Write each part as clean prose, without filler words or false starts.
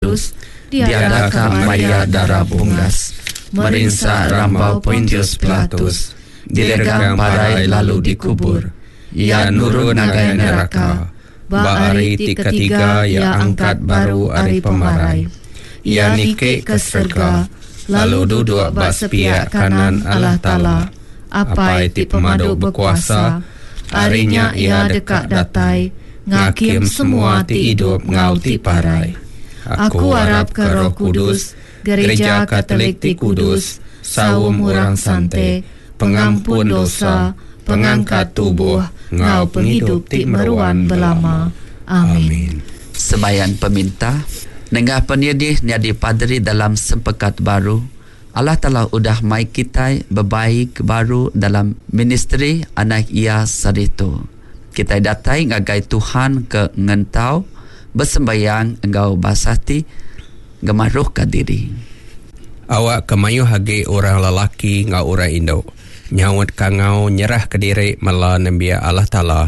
Kudus, diadaka maya Dara Bungas, merinsa rambau Pontius Pilatus, diregang parai lalu dikubur, iya nurun ngagai neraka, ba hari ti ketiga iya angkat baru ari pemarai, iya niki ke serega, lalu duduk ba sepiak kanan Allah Taala, Apai ti Pemadu Bekuasa, ari nya iya deka datai ngakim semua ti idup enggau ti parai. Aku arapka Roh Kudus, Gereja Katolik ti kudus, saum orang sante, pengampun dosa, pengangkat tubuh, enggau pengidup ti meruan belama. Amin. Sembahyang Peminta, Nengah penyedih nyadi paderi dalam Sempekat Baru, Allah Taala udah mai kitai bebaik baru dalam ministri Anak Iya saritu. Kitai datai ngagai Tuhan ke ngentau, besembayang enggau basah ti ngemaruhka diri. Awakka mayuh agi orang lelaki enggau orang indu nyaut kangau nyerahka diri mela nembiak Allah Taala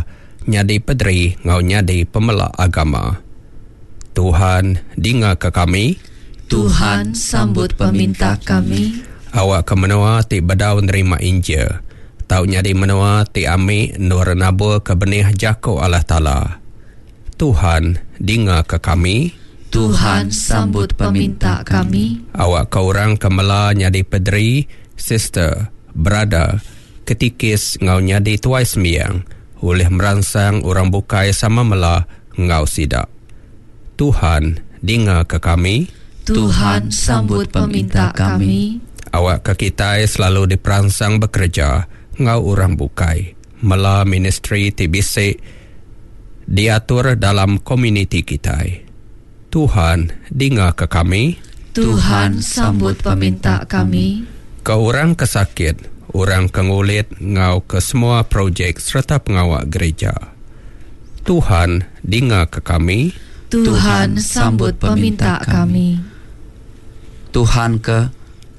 nyadi pederi enggau nyadi pemela agama. Tuhan, dingaka kami. Tuhan, sambut peminta kami. Awakka menua ti bedau nerima Injil tau nyadi menua ti ami endur naburka benih jaku Allah Taala. Tuhan, dingaka kami. Tuhan, sambut peminta kami. Awakka orang ke mela nyadi pederi, sister, brother, ketikis enggau nyadi tuai sembiang ulih meransang orang bukai sama mela enggau sida. Tuhan, dingaka kami. Tuhan, sambut peminta kami. Awakka kitai selalu diperansang bekereja enggau orang bukai mela ministri ti bisi diatur dalam komuniti kitai. Tuhan, dingaka kami. Tuhan, sambut peminta kami. Ke orang ke sakit, orang ke ngulit enggau ke semua projek sereta pengawa gereja. Tuhan, dingaka kami. Tuhan, sambut peminta kami. Tuhan ke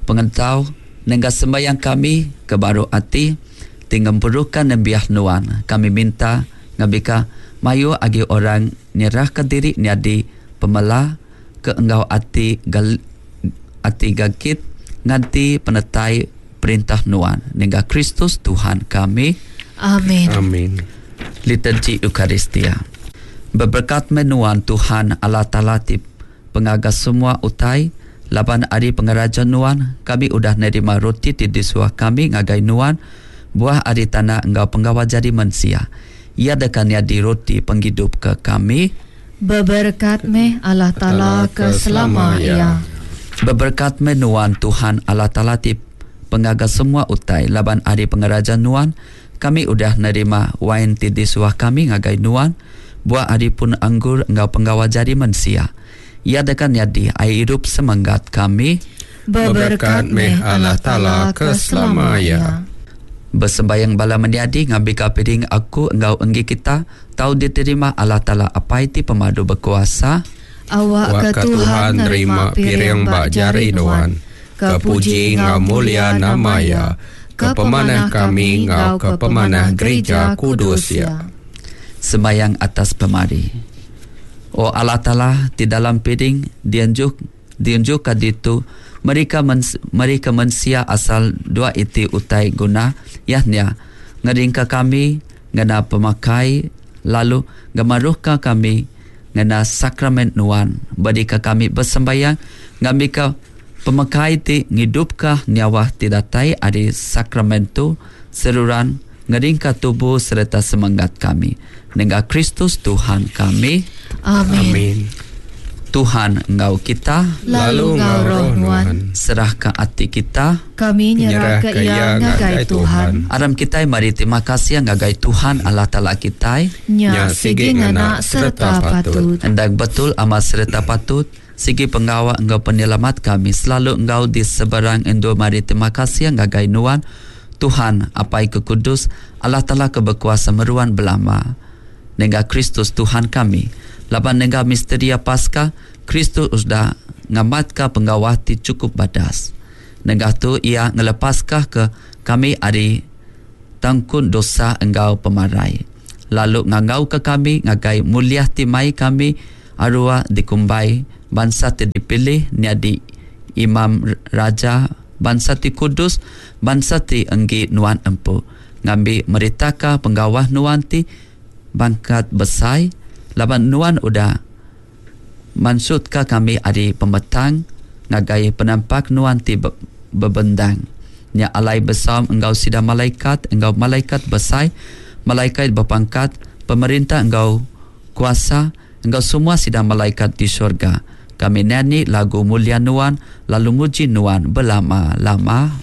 pengentau nengah sembahyang kami ke baruh ati ti ngempuruka nembiak nuan kami minta ngambika mayuh agi orang nyerahka diri nyadi pemela ke enggau ati ati gagit nganti penetai perintah nuan nengah Kristus Tuhan kami. Amin. Amin. Liturgi Eucharistia. Beberekat meh nuan Tuhan Allah Taala ti pengaga semua utai, laban ari pengeraja nuan kami udah nerima roti ti disuah kami ngagai nuan, buah ari tanah enggau penggawa jari mensia. Iya deka nyadi roti pengidup ke kami. Beberekat meh Allah Taala ke selama iya. Beberekat meh nuan Tuhan Allah Taala ti pengaga semua utai, laban ari pengeraja nuan kami udah nerima wain ti disuah kami ngagai nuan, buah ari pun anggur enggau penggawa jari mensia. Iya deka nyadi ai irup semenggat kami. Beberekat meh Allah Taala ke selama iya. Besembayang bala menyadi ngambika piring aku enggau enggi kita tau diterima Allah Taala Apai ti Pemadu Bekuasa. Awakka Tuhan nerima piring ba jari nuan, ke puji enggau mulia nama Iya, ke pemanah kami enggau ke pemanah gerija kudus Iya. Sembayang atas pemari. O Allah Taala ti dalam piring dianjuk Diunjukka ditu, merika merika mensia asal dua iti utai guna iya nya, ngeringka kami ngena pemakai lalu ngemaruhka kami ngena sakramen Nuan. Bedika kami besembayang ngambika pemakai ti ngidupka nyawa ti datai ari sakramen tu seruran ngeringka tubuh sereta semengat kami. Nengah Kristus Tuhan kami. Amin. Amin. Tuhan enggau kita. Lalu enggau roh nuan. Serahka ati kita. Kami nyerahka iya ngagai Tuhan. Aram kitai meri terima kasih ngagai Tuhan Allah Taala kitai. Nya sigi ngena sereta patut. Endang betul amat sereta patut, sigi pengawa enggau penyelamat kami selalu enggau di seberang endur meri terima kasih ngagai nuan, Tuhan, Apai ke kudus, Allah Taala ke bekuasa meruan belama. Nengah Kristus Tuhan kami. Laban nengah misteria Paskah, Kristus udah ngamatka pengawa ti chukup badas. Nengah tu iya ngelepaska ke kami ari tangkun dosa enggau pemarai, lalu ngangauka kami ngagai mulia ti mai kami arua dikumbai. Bansa ti dipilih nyadi imam raja, bansa ti kudus, bansa ti enggi Nuan empu, ngambi meritaka pengawa Nuan ti bangkat besai, laban Nuan udah mansutka kami ari pemetang ngagai penampak Nuan ti bebendang. Nya alai besaum enggau sida malaikat enggau malaikat besai, malaikat bepangkat, pemerintah enggau kuasa, enggau semua sida malaikat di surga. Kami nyanyi lagu mulia Nuan lalu muji Nuan belama-lama.